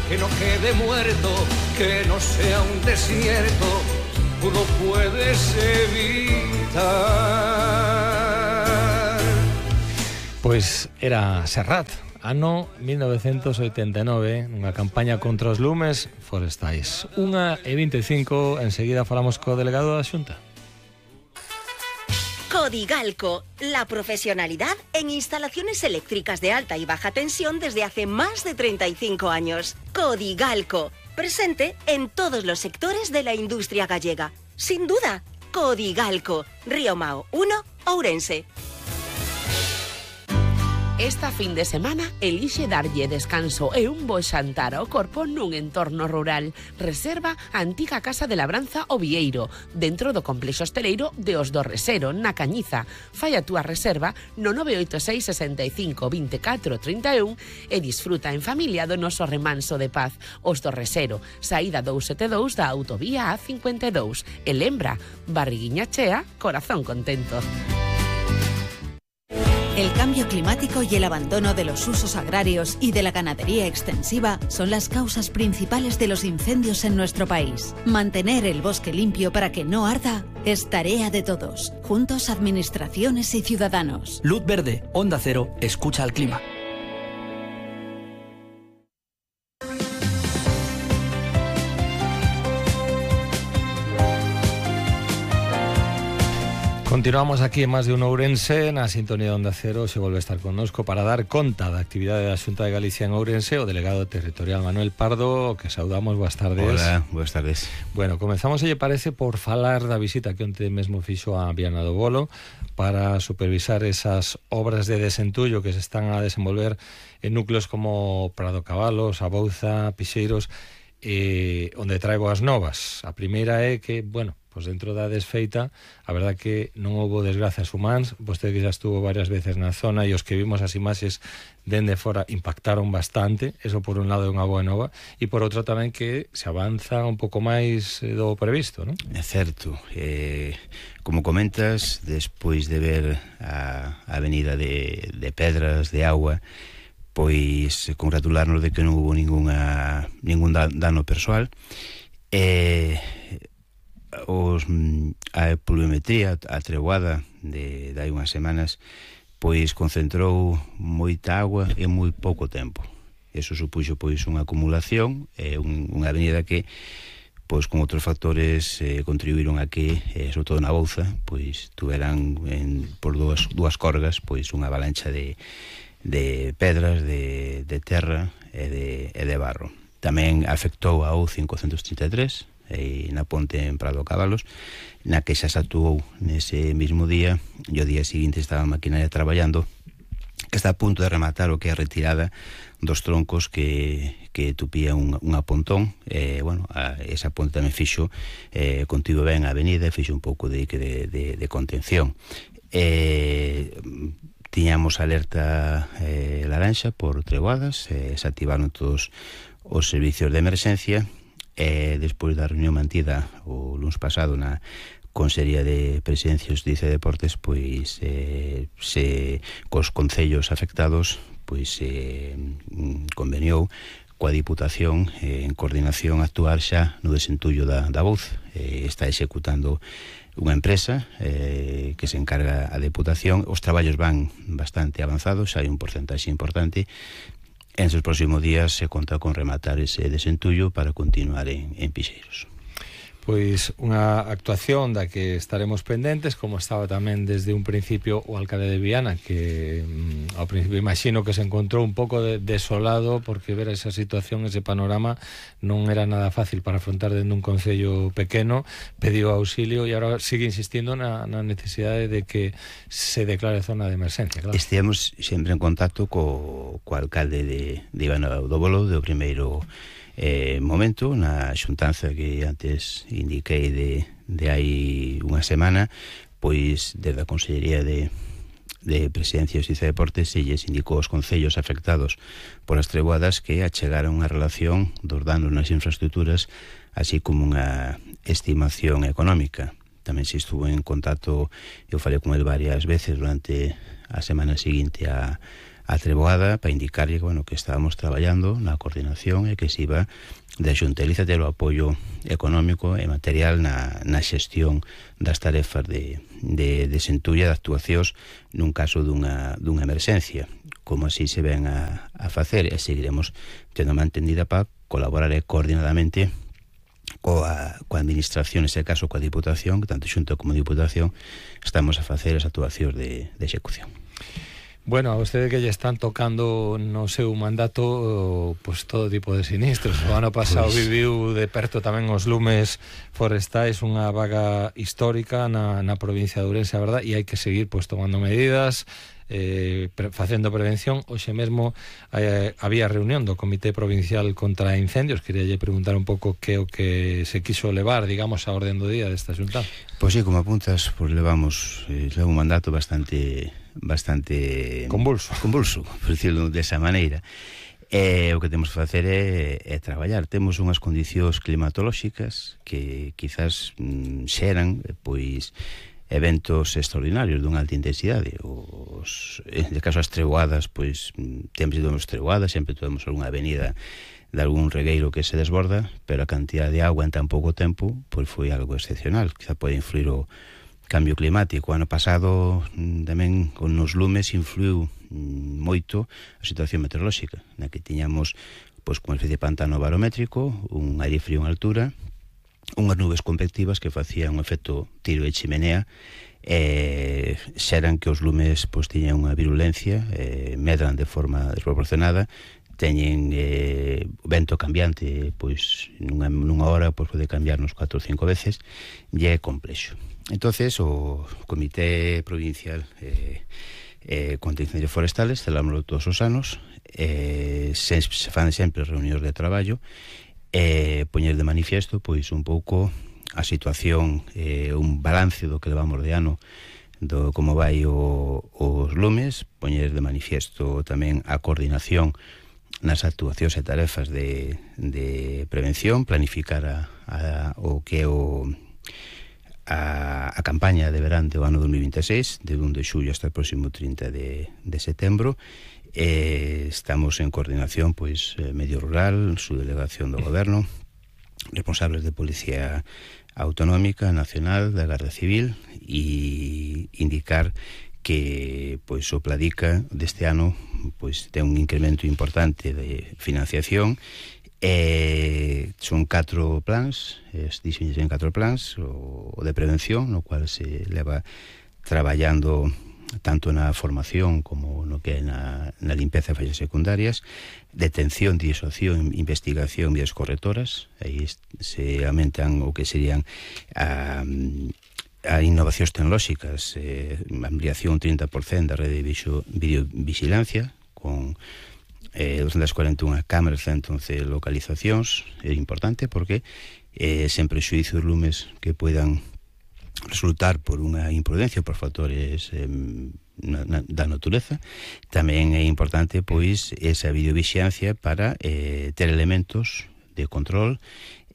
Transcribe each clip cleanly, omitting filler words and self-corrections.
que no quede muerto, que no sea un desierto, tú lo puedes evitar. Pois era Serrat, ano 1989, nunha campaña contra os lumes forestais. 1:25, enseguida falamos co delegado da Xunta. Codigalco, la profesionalidad en instalaciones eléctricas de alta y baja tensión desde hace más de 35 años. Codigalco, presente en todos los sectores de la industria gallega. Sin duda, Codigalco, Río Mao 1, Ourense. Esta fin de semana elixe darlle descanso e un bo xantar ao corpo nun entorno rural. Reserva a antiga Casa de Labranza O Vieiro, dentro do complexo hosteleiro de Os do Resero, na Cañiza. Fai a túa reserva no 986 65 24 31 e disfruta en familia do noso remanso de paz. Os do Resero, saída 272 da autovía A52. E lembra, barriguiña chea, corazón contento. El cambio climático y el abandono de los usos agrarios y de la ganadería extensiva son las causas principales de los incendios en nuestro país. Mantener el bosque limpio para que no arda es tarea de todos, juntos administraciones y ciudadanos. Luz verde, Onda Cero, escucha al clima. Continuamos aquí en Más de un Ourense, na sintonía de Onda Cero. Se volve a estar connosco para dar conta da actividade da Xunta de Galicia en Ourense, o delegado territorial Manuel Pardo, que saudamos. Boas tardes. Hola, boas tardes. Bueno, comenzamos, se lle parece, por falar da visita que onte mesmo fixo a Viana do Bolo para supervisar esas obras de desentullo que se están a desenvolver en núcleos como Prado Cabalos, Abouza, Pixeiros, onde traigo as novas. A primeira é que, bueno, pois dentro da desfeita, a verdad que non houbo desgracias humanas. Vostede que xa estuvo varias veces na zona e os que vimos as imaxes dende fora impactaron bastante. Eso por un lado é unha boa nova, e por outro tamén que se avanza un pouco máis do previsto, non? É certo. Como comentas, despois de ver a avenida de pedras, de agua, pois congratularnos de que non hubo ningún dano persoal. A pluviometría, a treguada de hai unhas semanas, pois concentrou moita agua en moi pouco tempo. Eso supuxo pois unha acumulación, unha avenida que, pois con outros factores, contribuíron a que, sobre todo na Bouza, pois tuveran por dúas corgas pois unha avalancha de pedras, de terra e de barro. Tamén afectou a U533 e na ponte en Prado Cabalos, na que xa se actuou nese mismo día, e o día seguinte estaba a maquinaria traballando, que está a punto de rematar o que é a retirada dos troncos que tupía unha pontón. Esa ponte tamén fixo, contivo ben a avenida, fixo un pouco de contención. Tiñamos alerta laranxa por treguadas, se activaron todos os servicios de emerxencia. Despois da reunión mantida o luns pasado na Consellería de Presidencia, Justicia e Deportes, pois cos concellos afectados, pois conveniou coa Diputación en coordinación actuar xa no desentullo da Bouz. Está executando unha empresa que se encarga a Deputación. Os traballos van bastante avanzados, hai un porcentaxe importante. En estes próximos días se conta con rematar ese desentullo para continuar en Pixeiros. Pois unha actuación da que estaremos pendentes, como estaba tamén desde un principio o alcalde de Viana, que ao principio imagino que se encontrou un pouco desolado, porque ver esa situación, ese panorama non era nada fácil para afrontar dentro un concello pequeno. Pediu auxilio e agora sigue insistindo na necesidade de que se declare zona de emerxencia, claro. Estivemos sempre en contacto co alcalde de Viana do Bolo, do primeiro momento, na xuntanza que antes indiquei de hai unha semana, pois desde a Consellería de Presidencia, Justicia e Deportes se lles indicou aos concellos afectados por as treguadas que achegaron unha relación dos danos nas infraestructuras, así como unha estimación económica. Tamén se estuvo en contacto, eu falei con el varias veces durante a semana seguinte a Treboada para indicarlle, bueno, que estábamos traballando na coordinación e que se iba de Xunta de Galicia ter o apoio económico e material na xestión das tarefas de desentulla de actuacións nun caso dunha emerxencia, como así se ven a facer, e seguiremos tendo mantendida para colaborar coordinadamente coa administración, nese caso coa Diputación, que tanto Xunta como Diputación estamos a facer as actuacións de execución. Bueno, a vostede que lle están tocando no seu mandato pues todo tipo de sinistros. O ano pasado viviu de perto tamén os lumes forestais, unha vaga histórica na provincia de Ourense, a verdad, e hai que seguir pues tomando medidas, facendo prevención. Hoxe mesmo había reunión do Comité Provincial contra Incendios. Quería lle preguntar un pouco que o que se quiso levar, digamos, a orden do día desta xunta. Pois sí, como apuntas, pues levamos un mandato bastante convulso, por decirlo desa maneira. O que temos que facer é traballar. Temos unhas condicións climatolóxicas que quizás xeran pois eventos extraordinarios dunha alta intensidade. En caso as treboadas, pois sempre temos treboadas, sempre temos algunha avenida de algún regueiro que se desborda, pero a cantidad de agua en tan pouco tempo pois foi algo excepcional. Quizá pode influir o cambio climático. O ano pasado tamén con os lumes influiu moito a situación meteorolóxica, na que tiñamos pois como especie de pantano barométrico, un aire frío en altura, unhas nubes convectivas que facían un efecto tiro de chimenea, xeran que os lumes pois tiñan unha virulencia, medran de forma desproporcionada, teñen vento cambiante, pois nunha hora pois pode cambiar uns 4 ou 5 veces, e é complexo. Entonces o Comité Provincial contra Incendios Forestales celámoslo todos os anos, se fan sempre reunións de traballo, poñer de manifiesto pois un pouco a situación, un balance do que levamos de ano, do como vai os lumes, poñer de manifiesto tamén a coordinación nas actuacións e tarefas de prevención, planificar o que é a campaña de verán do ano 2026, de 1 de xullo hasta o próximo 30 de setembro. Estamos en coordinación pois Medio Rural, Subdelegación do Goberno, responsables de Policía Autonómica, Nacional, da Garda Civil, e indicar que pois o Pladica deste ano pois ten un incremento importante de financiación. Son 4 plans, diseñan 4 plans o de prevención, no cual se leva traballando tanto na formación como no que é na limpeza de fallas secundarias, detención, disuasión, investigación, vías correctoras. Aí se aumentan o que serían a innovacións tecnolóxicas, ampliación 30% da rede de videovigilancia con 241 cámaras, 111 localizacións. É importante porque sempre xuízo de lumes que poidan resultar por unha imprudencia, por factores da natureza. Tamén é importante pois esa videovixiancia para ter elementos de control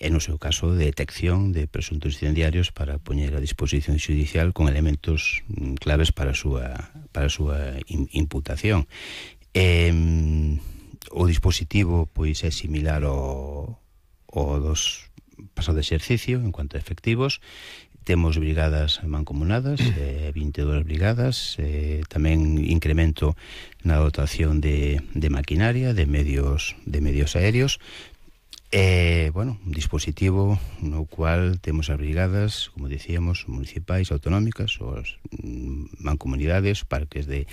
e no seu caso de detección de presuntos incendiarios para poñer a disposición judicial con elementos claves para a súa imputación. O dispositivo pois é similar ao dos pasado de exercicio en cuanto a efectivos. Temos brigadas mancomunadas, 22 brigadas, tamén incremento na dotación de maquinaria, de medios aéreos. Un dispositivo no cual temos as brigadas, como dicíamos, municipais, autonómicas, as mancomunidades, parques de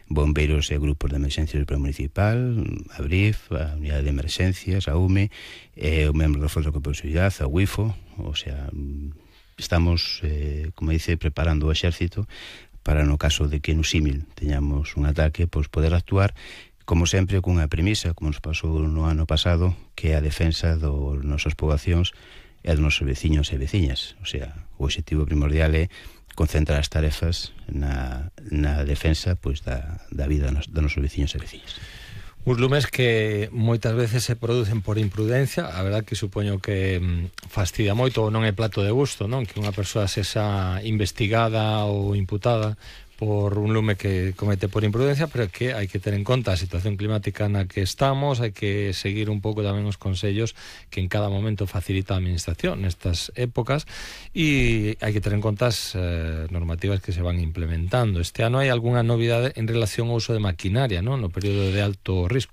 bombeiros e grupos de emerxencia do plano municipal, a BRIF, a unidade de emerxencias, a UME, o membro da Forza de Cooperación, a UIFO. O sea, estamos, como dice, preparando o exército para no caso de que no símil teñamos un ataque, pois poder actuar como sempre cunha premisa, como nos pasou no ano pasado, que é a defensa dos nosos poboacións e dos nosos veciños e veciñas. O sea, o objetivo primordial é concentrar as tarefas na defensa pois da vida dos nosos veciños e veciñas. Uns lumes que moitas veces se producen por imprudencia, a verdad que supoño que fastidia moito ou non é plato de gusto, non? Que unha persoa sexa investigada ou imputada por un lume que comete por imprudencia, pero que hai que ter en conta a situación climática na que estamos, hai que seguir un pouco tamén os consellos que en cada momento facilita a administración nestas épocas, e hai que ter en conta as normativas que se van implementando. Este ano hai algunha novidade en relación ao uso de maquinaria, non? No período de alto risco.